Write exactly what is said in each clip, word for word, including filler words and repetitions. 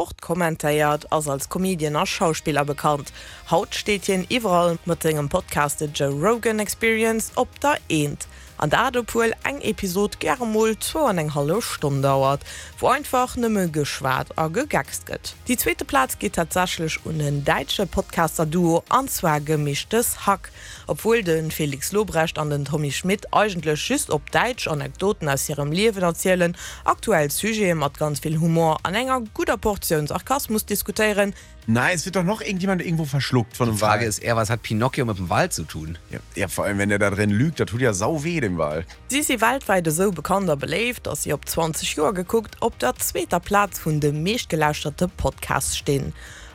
Sport kommentéiert, ass als Comedian a Schauspiller bekannt. Haut steet hien iwwerall mat sengem Podcast The Joe Rogan Experience op der Eent. An dat obwuel eng Episod gäre mol zwou an eng hallef Stonn dauert, wou einfach nëmme geschwat a gegeckst gëtt. Déi zweete Plaz geet tatsächlech un en däitsche Podcaster-Duo, an zwar Gemischtes Hack. Obwuel de Felix Lobrecht an den Tommy Schmidt eigentlech just op Däitsch Anekdoten aus hirem Liewen erzielen, aktuell Sujete mat ganz vill Humor an enger gudder Portioun Sarkasmus diskutéieren, Nein, es wird doch noch irgendjemand irgendwo verschluckt von einem Die Frage Wal. ist eher, was hat Pinocchio mit dem Wal zu tun? Ja, ja, vor allem, wenn der da drin lügt, das tut ja sau weh, dem Wal. Si si weltwäit esou bekannt a beléift, dass si op zwanzeg Joer gekuckt op der zweeter Plaz vun de meeschtgelauschterte Podcasts stinn.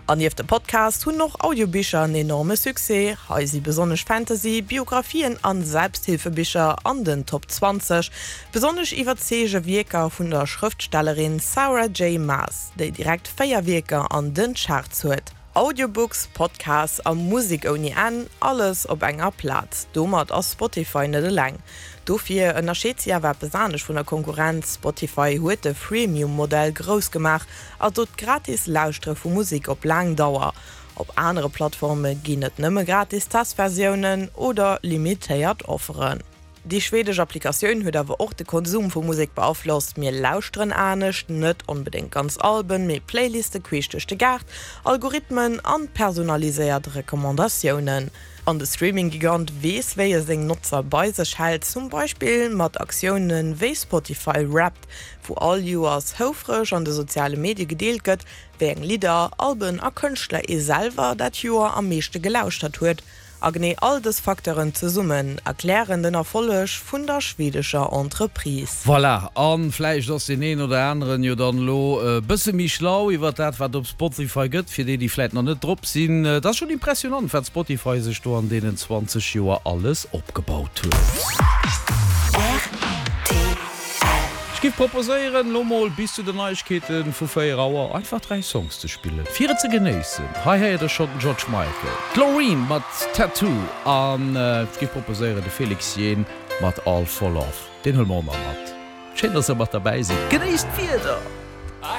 An nieft de Podcasts hunn och Audiobicher en enorme Succès. Hei si besonnesch Fantasy, Biographien an Selbsthilfebicher an den Top zwanzeg. Besonnesch iwwerzeege Wierker vun der Schrëftstellerin Sarah J. Maas, déi direkt véier Wierker an den Charts huet. Audiobooks, Podcasts a Musek ouni Enn, alles op enger Plaz. Domat ass Spotify net eleng. Dofir ënnerscheet si awer eppes anescht vun der Konkurrenz, Spotify huet de Freemium-Modell grouss gemaach, also d'gratis Lauschtere vu Musek op laang Dauer. Op anere Plattforme ginn et nëmme gratis Testversiounen oder limitéiert Offeren. Déi schwedesch Applikatioun huet awer och de Konsum vu Musek beaflosst, Mir lauschteren anescht, net onbedéngt ganz Alben, mee Playliste queesch duerch de Gaart, Algorithmen an personaliséiert Recommandatiounen. An de Streaming-Gigant weess, wéi e seng Notzer bei sech hält, zum Beispill mat Aktioune wéi Spotify Wrapped, wou all Joers houfreg an de soziale Medie gedeelt gëtt, wéi eng Lidder, Alben a Kënschtler ee selwer dat Joer am meeschte gelauschtert huet. A genee all dës Facteuren zesummen erklären den Erfolleg vun der schwedescher Entreprise. Voilà, a vläicht ass deen een oder aneren jo dann elo e bësse méi schlau iwwert dat, wat op Spotify gëtt, fir déi, déi vläicht nach net drop sinn. Et ass schonn impressionant, wat Spotify sech do an deenen zwanzeg Joer alles opgebaut huet. Ech giff proposéieren, lo mol bis zu den Neiegkeete vu véier Auer einfach dräi Songs ze spillen, fir et ze genéissen. Hei héiert der schonn den George Michael, d'Loreen mat Tattoo an ech giff proposéieren, de Felix Jaehn mat All For Love. Deen huele mer och nach mat. Schéin, dass der mat derbäi sidd. Genéisst d'Wieder!